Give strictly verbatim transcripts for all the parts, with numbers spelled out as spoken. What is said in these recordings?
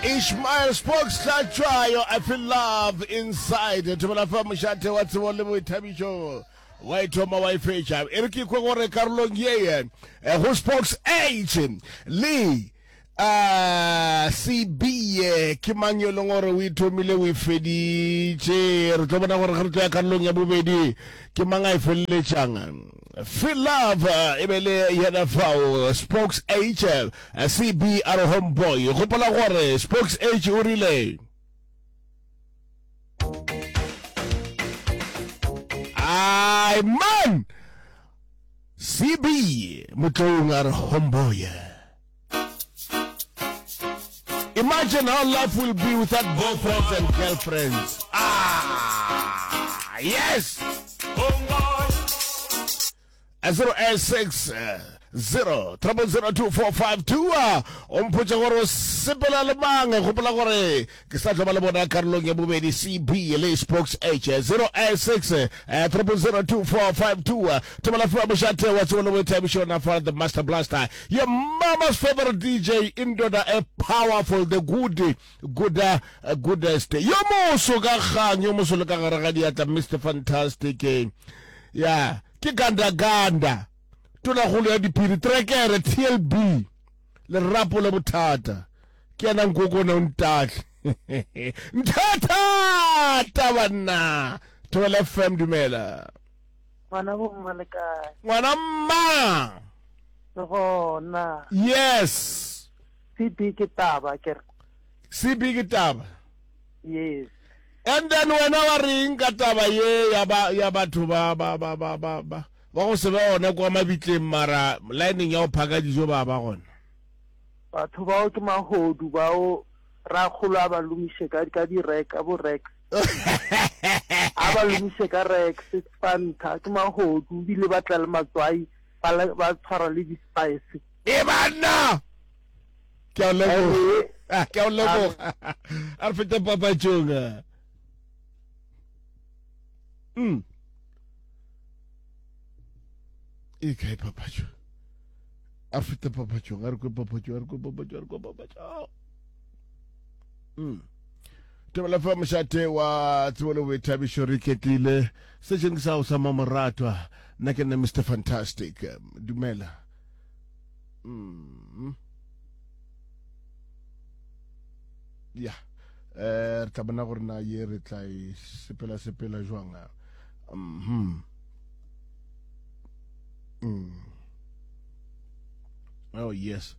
Ishmael Spokes Hlatshwayo I feel love inside thobela fa mošate wa tsebo le boithabišo wa ithoma wa ifetša e re ke kwe gore karolong ye eh, go Spokes H le uh, C B ke mang yo e leng gore o ithomile o e feditše. Re tlo bona gore ge re tlo ya karolong ya bobedi ke mang a e feleletšang. Feel Love e be le yena fao Spokes H, C B a re homeboy. Gopola gore Spokes H o rile ai man C B Motloung a re homeboy. Imagine how life will be without boyfriends and girlfriends. Ah, yes. zero eight six zero triple zero two four five two. O mpotša gore o sepela le mang. Gopola gore ke sa tlo ba le bona karolong ya bobedi, C B le Spokes H. zero eight six triple zero two four five two. Thobela F M, mošate wa tsebo le boithabišo, na fa the Master Blaster, your mama's favorite D J, indoda a powerful, the good good goodest, yo moso ka kgang, yo moso le ka gare ga diatla, Mister Fantastic. Ya ke ganda ganda tonagolo ya diphiri, trekere T L B, lerapo le bothata ke yena nkokone o ntahle nthathata banna. Thobela F M, dumela. Ngwana bomma, le kae? Ngwana mma. Le gona? Yes. C B ke taba ke re. C B ke taba. Yes. And then wena wa reng ka taba ye ya ba ya batho ba ba ba ba ba ba ba go se be gona kwa mabitleng, mara lineng ya go phaka dijo ba ba gona? Batho bao ke mahodu bao, rakgolo a ba lomiše ka ka di-rek ka bo Rex, a ba lomiše ka Rex Fanta. Ke mahodu ebile ba tla le matswai, ba le- ba tshwara le di-spice. E banna, ke a o leboga. Ah, ke a o leboga. A re fete papatšong. ah. mm e kae papatšo? A re fete papatšong, a re kwe papatšo, a re kwe papatšo, a re kwe papatšo. mm Thobela F M, mošate wa tsebo le boithabišo. Re iketlile sešeng sa go sa mamoratwa. Nna ke nna Mister Fantastic. Dumela. mm. Ya eh re tla bona gore na ye re tla e sepela sepela jwang. mhm mm. Oh yes,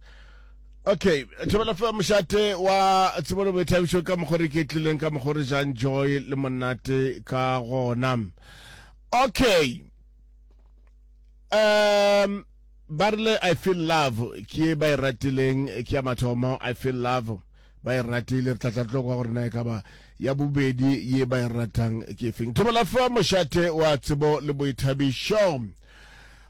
okay. Thobela F M, mošate wa tsebo le boithabišo. Ka mokgwa re iketlileng, ka mokgwa re jang joy le monate ka gona. Okay, um ba rile I feel love ke ba e ratileng, ke ya mathomo. I feel love ba e ratile. Re tla tla tlo kwa gore na e ka ba ya bobedi ye ba e ratang ke feng. Thobela F M, mošate wa tsebo le boithabišo.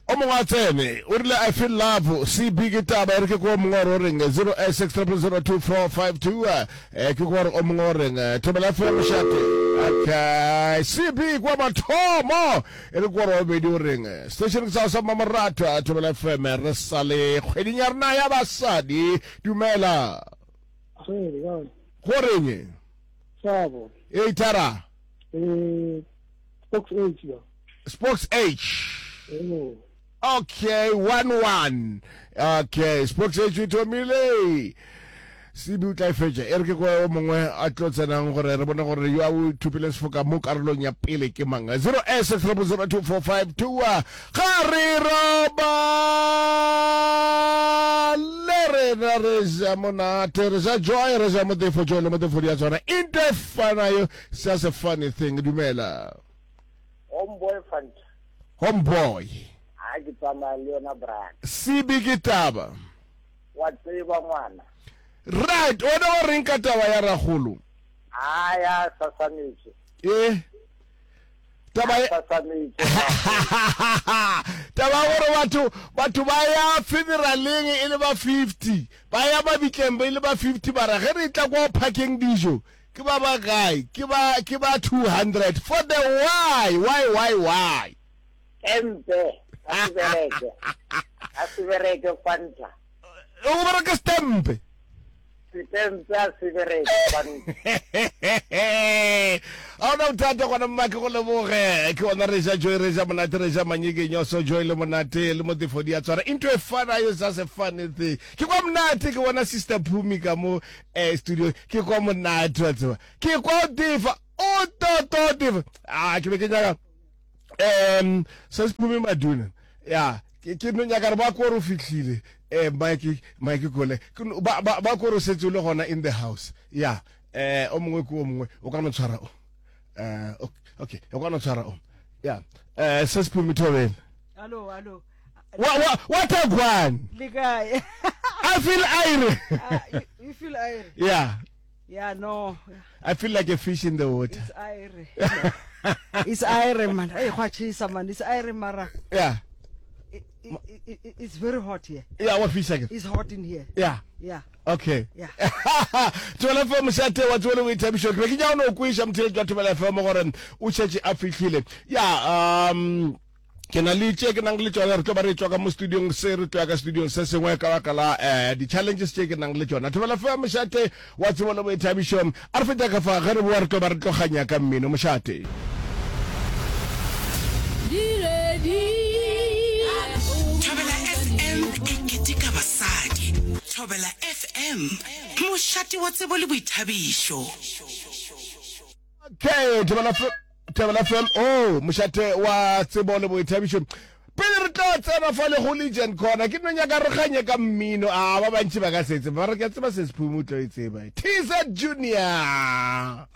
O mongwe a tsene o rile I feel love, C B ke taba. E re ke ko mongwe gore o reng. zero six zero zero two four five two. Eh ke gore o mongwe o reng. Thobela F M, mošate. Okay, C B kwa mathomo, e re gore wa bobedi o reng. Station ke sa sa mamorato, Thobela F M. Re sa le kgweding ya rena ya basadi. Dumela. Go reng? Sabo. E thara. Eh, Spokes H ya. Spokes H. Eh. Okay, one one. Okay, Spokes H o thomile, C B o tla e fetša. E re ke kwa o mongwe a tlo tsenang gore re bone gore yo a o thopile sefoka mo karolong ya pele ke mang. zero S zero zero two four five two. Ga re robale, rena re ja monate, re ja joy, re ja motefo. Joy le motefo di a tshwana, into e fanayo. It's just a funny thing. Dumela. Homeboy Fanta. Homeboy. Ha ke tsamaya le yona, brother. C B ke taba. Wa tseba, ngwana. Right, wena wa reng ka taba ya ragolo? A ya sasametse. E taba e Sasametse. Taba ya gore batho batho ba ya funeraleng e le ba fifty, ba ya mabitleng ba ile ba fifty, bara ge re tla kwa phakeng dijo ke ba ba kae? Ke ba ke ba two hundred. For the why, why, why, why? Empe a se bereke, a se bereke, Fanta. O bereke stempe. Setempe a se bereke gobane Ga ona bothata gona mma ke go leboge. Ke gona re ja joy re ja monate re ja manyekenyoso joy le monate le motefo di a tshwara into a fun is just a funny thing. Ke kwa monate ke bona sister Phumi ka mo eh, studio ke kwa monate wa tseba. Ke kwa o tefa o toto tefa. Ah ke be ke nyaka um se se Phumi Maduna. Ya ke ke no nyaka re ba ko re o fihlile eh Mike Mike Kole Ke no- ba ba ba ko re o setse o le gona in the house. Ya eh o mongwe ke o mongwe o ka no tshwara o. Eh okay o ka no tshwara o. Ya eh se se Phumi Thobela. Hello, hello. Wa wa what a gwan. Le kae? I feel aire. Ah, you, you feel aire? Yeah. Yeah, no. I feel like a fish in the water. It's aire. It's aire, man. Hey, gwa chisa, man. It's aire, mara. Yeah. It, it, it, it, it's very hot here. Yeah, wa fish again. It's hot in here. Yeah. Yeah. Okay. Yeah. Thobela F M mošate wa tsebo le boithabišo. Ke be ke nyaka go no kweša motheeletši wa Thobela F M gore o šetše a fihlile. Ya, um ke na le tše ke nang le tšona re tlo ba re tšwa ka mo studiong se re tlo ya ka studiong se sengwe ka baka la eh, di-challenges tše ke nang le tšona. Thobela F M mošate wa tsebo le boithabišo. A re feta ka fa ge re boa re tlo ba re tloganya ka mmino mošate. Thobela F M e keteka basadi. Thobela F M, mošate wa tsebo le boithabišo. Okay, Thobela F Thobela F M, oh, mošate wa tsebo le boithabišo. Pele re tlo tsena fa le go Legend Corner, ke no nyaka re ganye ka mmino. A ba bantši ba ka se tsebe, ba re ke a tseba se Sephume o tlo e tseba. T Z Junior.